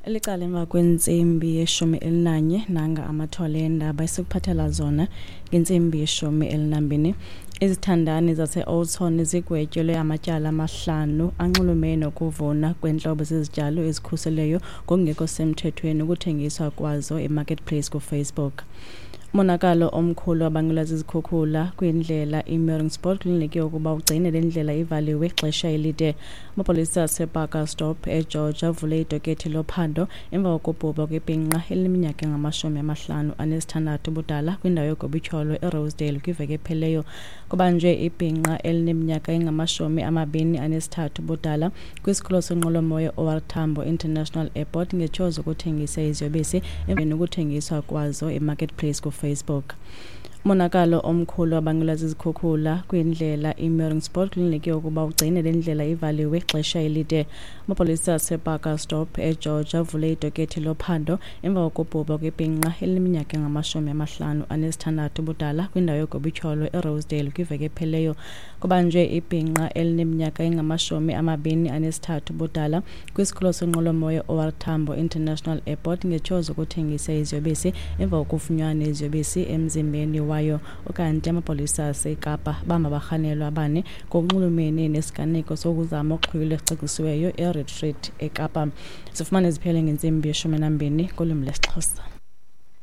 Elicala emva kwentsimbi yeshumi elinanye, nanga amathole eendaba esikuphathela zona ngentsimbi yeshumi elinambini. Izithandani zase-Oudtshoorn zigwetyelwe amatyala amahlanu anxulumene nokuvuna kweentlobo zezityalo ezikhuseleyo ngokungekho semthethweni ukuthengiswa kwazo eMarketplace kuFacebook. Umonakalo omkhulu wabangelwa zizikhukhula kwindlela iMeiringspoort kulindeleke ukuba ugcine le ndlela ivaliwe ixesha elide. Amapolisa aseBarkerstop eGeorge avule idokethi lophando emva kokubhubha kwebhinqa elineminyaka engama-56 ubudala kwindawo yogobityholo eRosedale kwiveki ephelileyo. Kubanjwe ibhinqa elineminyaka engama-23 ubudala kwisikhululo senqwelomoya OR Tambo International Airport ngetyholo zokuthengisa iziyobisi emveni kokuthengiswa kwazo eMarketplace kuFacebook. Umonakalo omkhulu wabangelwa zizikhukhula kwindlela iMeiringspoort kulindeleke ukuba ugcine le ndlela ivaliwe ixesha elide. Amapolisa aseBarkerstop eGeorge avule idokethi lophando emva kokubhubha kwebhinqa elineminyaka engama-56 ubudala kwindawo yogobityholo eRosedale kwiveki ephelileyo. Kubanjwe ibhinqa elineminyaka engama-23 ubudala kwisikhululo senqwelomoya OR Tambo International Airport ngetyholo zokuthengisa iziyobisi emva kokufunyanwa neziyobisi emzimbeni wayo. Ukanti amapolisa aseKapa bamba abarhanelwa abane ngokunxulumene nesiganeko sokuzama uxhwilo esicwangcisiweyo eRetreat eKapa. Sifumane ziphele ngentsimbi yeshumi nambini ngolwimi lwesiXhosa.